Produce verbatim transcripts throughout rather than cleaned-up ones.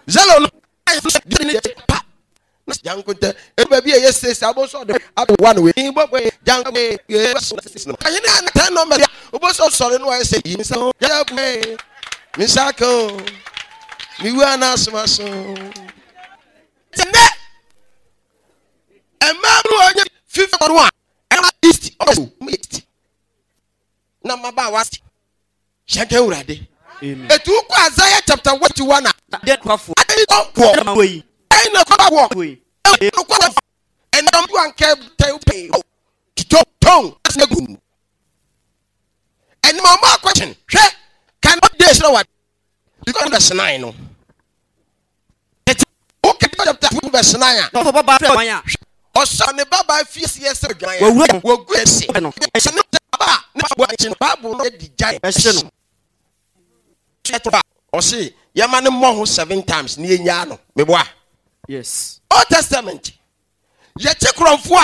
Zelo no pa na jankontɛ ebi baabi a ɛyɛ six abo nso ɔde abo one wei bɔ bɔ janko yɛ six no ahene a ten number a obo so sɔre no ayɛ sɛ yi nsa ho yɛ bu mi nsa ka o mi wu ana asoma so ɛnɛ mmaa bi wɔ nyɛ fifa no a ɛna east ɔmo yɛ east na mmabaawa hyɛnkɛ wurade etu kɔ Isaiah chapter one to one a Adeɛ kwafo. Ade ɔwɔ Ɛna wɔ yi. Ɛna kɔ wɔ Wɔ yi. Ɛna kɔ wɔ ɛna mu ankɛ tɛ pɛ tɔ tɔn ɛsɛ gu ɛna ɔmo akɔkyen hwɛ kan de srɛ wa because verse nine no ɛti okay chapter two verse nine a Ɔfɔ baba fɛ wan a. Ɔsɔ ne baba fie si ɛsɛ dwan a Wɔwura. Wɔgu ɛsi No. Ɛhyɛ ne baba ne ba bɔ akyi no Bible no di gya Ɛhyɛ no. Ɔse yɛma ne mmɔ ho seven times ne yɛnyaa no meboa. Yes. Old Testament yɛkye kurɔmfoɔ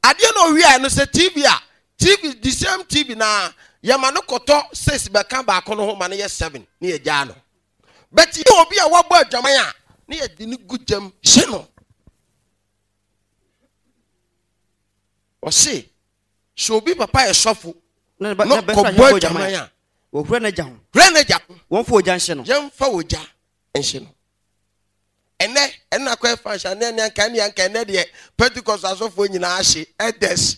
a adeɛ na owia no sɛ T V a T V, the same T V na yɛma no kɔtɔ six bɛka baako no ho ma no yɛ seven ne yɛgyaa no, but yɛ obi a wabɔ adwaman a ne yɛde ne gu gyam hye no. Ɔse sɛ obi papa yɛ sɔfo Na ne ba na na bɛfra kɔbɔ hɛn bɔ adwaman adwaman. a Wɔhura n'agya ho. Hwɛ n'agya ho. Wɔmfa ogya nhyɛ no. Yɛmfa ogya nhyɛ no. Ɛnɛ ɛna akɔ ɛfa nhyɛ ne ɛne anka ne anka ɛnɛ deɛ Pentecost asɔfoɔ nyinaa ahye elders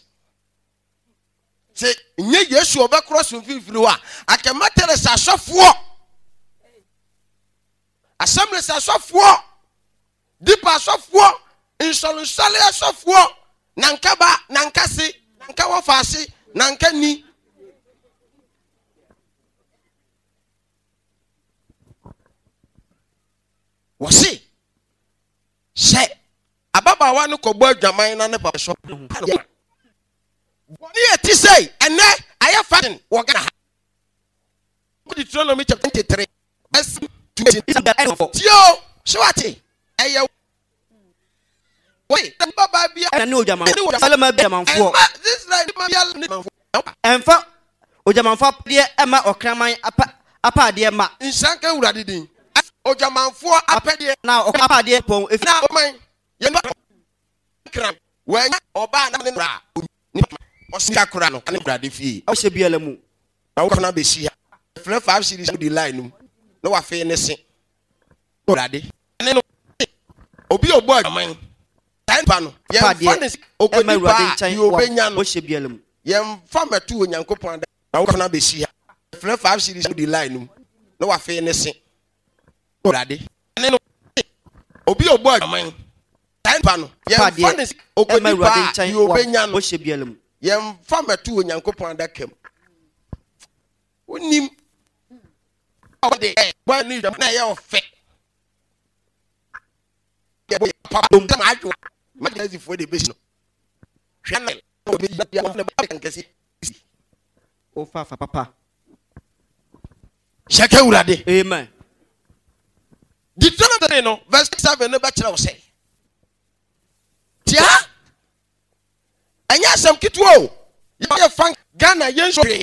sɛ nye Yesu ɔbɛkorɔ so mfimfini hɔ a akɛma Teresa asɔfoɔ, Assemblies asɔfoɔ, Deeper asɔfoɔ, nsɔlensɔle asɔfoɔ, nanka ba nanka se nanka wɔfa ase nanka ni. Wɔse sɛ ababaawa no kɔbɔ adwaman na ne papa so bɔne yɛ ti sɛ ɛnɛ ayɛ fashion wɔ Ghana ha. Deuteronomy chapter twenty-three verse twenty. Tie o, sɛ wate ɛyɛ wɔye babaa bi Ɛna ne odwamanfoɔ. Salama bi adwamanfoɔ. Ɛma Israel nipa bi ne manfoɔ. Ɛmfa odwamanfoɔ apadeɛ ɛma ɔkraman apa apaadeɛ ma. Nhyira nka Awurade din. Odwamanfoɔ apɛdeɛ Na ɔkra apaadeɛ pɔn efi. Na ɔman yɛn ba kran wɔanya ɔbaa na ne nora nipa ɔsika kora no ne Awurade fie. Ɔhyɛ biara mu. Na wokɔ na bɛsi ha frɛ five series di line no mu na wafei ne se Awurade ne no obi a ɔbɔ adwaman saa nipa no yɛmfa ne Ɛma okodi Awurade paa nkyɛn deɛ obɛnya no ɔhyɛ biara mu. Yɛmfa mɛto Onyankopɔn ada na wokɔ na bɛsi ha frɛ five series di line no mu na wafei ne se Awurade ne no obi a ɔbɔ adwaman saa nipa no yɛmfa ne Ɛma okodi Awurade paa nkyɛn deɛ obɛnya no ɔhyɛ biara mu. Yɛmfa mɛto Onyankopɔn adaka mu. Wonim ɔde bɔ ne dwam na ɛyɛ ɔfɛ yɛbɔ yɛ papa dom sɛ maadwo magyasifoɔ de bɛsi no hwɛ na ɔbɛyi nkɛse. Ofa fa papa. Hyɛka Awurade. Amen. Deuteronomy no verse seven no bɛkyerɛ wo sɛ tia ɛnyɛ asɛm ketewa o. Yɛyɛ fa Ghana yɛn nso hwee.